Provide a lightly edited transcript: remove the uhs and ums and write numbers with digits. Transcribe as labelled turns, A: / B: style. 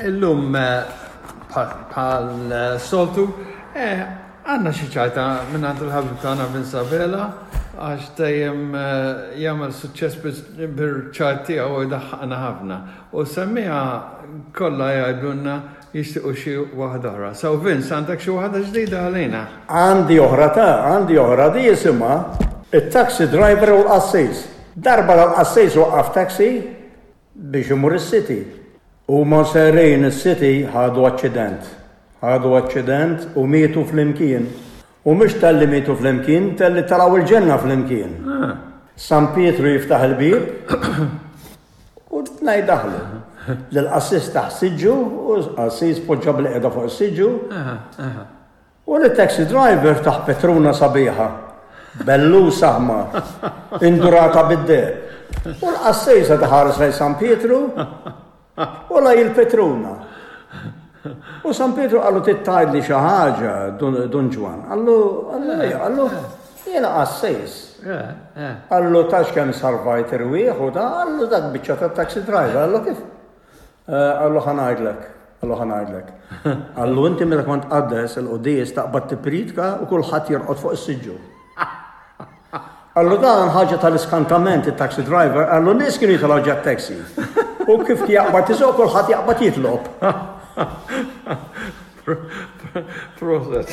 A: Illum bħal soltu għandna xi ċajta mingħand il-ħabib tagħna Vince Abela għax dejjem jagħmel suċċess bil-ċajt tiegħu u jdaħħaqna ħafna. U semmiha kollha jgħidulna jixtiequ xi waħda oħra. So Vince, għandek xi waħda ġdida għalina?
B: Għandi oħra ta, għandi oħra di jisimha it-taxi driver u l-qassis. Darba l-qassis waqqaf taxi biex imur is-city. Huma sejrin is-city ħadu aċċident. Ħadu aċċident u mietu flimkien. U mhux talli mietu flimkien, talli telgħu l-ġenna flimkien. San Pietru jiftaħ il-bieb u t-tnejn daħlu. Lill-qassis taħ siġġu u l-qassis poġġa bil-qiegħda fuq is-siġġu. U lit-taxi driver tah petruna sabiħa, bellus aħmar, indurata bid-deheb. U l-qassejsa tħares lejn San Pietru u lej il-petruna. U San Pietru qallu trid tgħidli xi ħaġa, Dun Ġwann. Qallu, qallu, qallu, jiena qassejs. Qallu tafx kemm salvajt irwieħ u da, qallu dak biċċa ta' taxi driver, qallu kif? Qallu ħa ngħidlek, qallu ħa ngħidlek. Qallu inti meta kont tqaddes il-quddies taqbad tippriedka u kulħadd jorqod fuq is-siġġu. Qallu dan ħaġa tal-iskantament it-taxi driver, qallu nies kienu jitilgħu ġat taxi. U kif jaqbad isuq kulħadd jaqbad jitlob.
A: Proset.